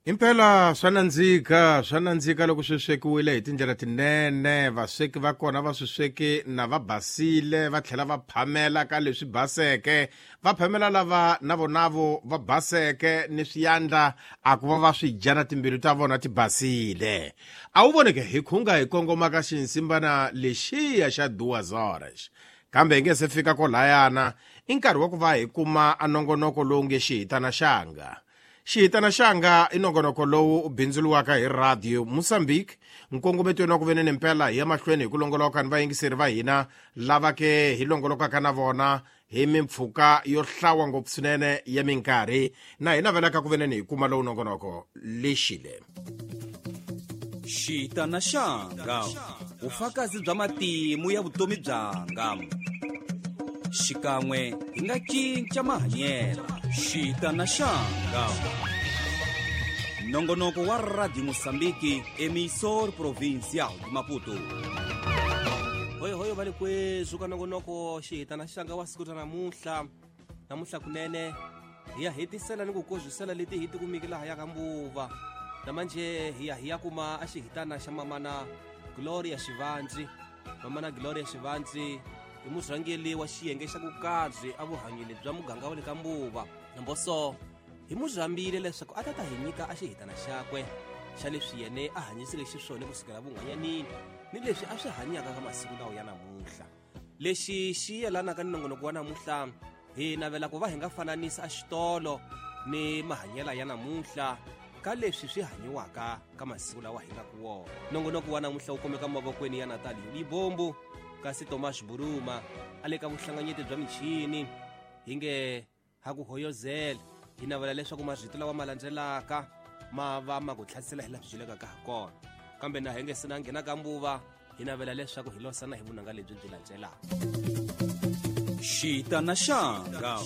Impela swa nandzika, swa nandzika loko swi swekiwile hi tindlela tinene. Vasweki va kona va swi sweki na va basile, va tlhela va phamela ka leswi baseke, va phamela lava na vonavo va baseke ni swiyandla a ku va va swi dya na timbilu ta vona ti basile. A wu voneke hi khunga hi kongoma ka xinsimbana lexiya xa Duas Horas. Kambe hi nge se fika kolayana, i nkarhi wa ku va hi kuma a nongonoko lowu nge Xihitana Xanga. Xihitana Xanga i nongonoko lowu u bindzuriwaka hi Radio Mozambique. Nkongometweni wa ku venene mpela hi ya mahlweni hi ku longoloka ni vayingiseri va hina lava ke hi longolokaka na vona hi mimpfhuka yo hlawa ngopfu swinene ya minkarhi, na hi navelaka ku venene hi kuma lowu nongonoko lexile. Xihitana Xanga, vufakazi bya matimu ya vutomi byanga. Xikan'we hi nga cinca mahanyelo. Xihitana Xanga, nongonoko wa Radio Mozambique, emissor provincial de Maputo. Hoyo hoyo va le kwezu ka nongonoko Xihitana Xanga wa siku ra namuntlha. Namuntlha kunene hi ya hetisela ni ku kozwisela leti hi tikumiki laha ya ka mbuva. Namanje hi ya hi ya kuma a xihitana xa mamana Gloria Xivandzi. Mamana Gloria Xivandzi i murhangeri wa xiyenge xa ku karhi a vuhanyeni bya muganga wa le ka mbuva. Namboso hi mu rhambile leswaku a ta ta hi nyika a xihitana xakwe xa leswi yene a hanyiseke xiswona kusukela vunhwanyanini ni leswi a swi hanyaka ka masiku lawa ya namuntlha. Lexi xi yelanaka ni nongonoko wa namuntlha, hi navela ku va hi nga fananisa a xitolo ni mahanyela ya namuntlha ka leswi swi hanyiwaka ka masiku lawa hi nga ku wona. Nongonoko wa namuntlha wu kumeka mavokweni ya Natalie Libombo, kasi Tomas Buruma a le ka vuhlanganyeti bya michini. Hi nge ha ku hoyozela, hi navela leswaku marito lawa ma landzelaka ma va ma ku tlhasela hi laha swi byelekaka ha kona. Kambe na hi nge se na nghena ka mbuva, hi navela leswaku hi losana hi vunanga lebyi byi landzelaka. Xihitana Xanga,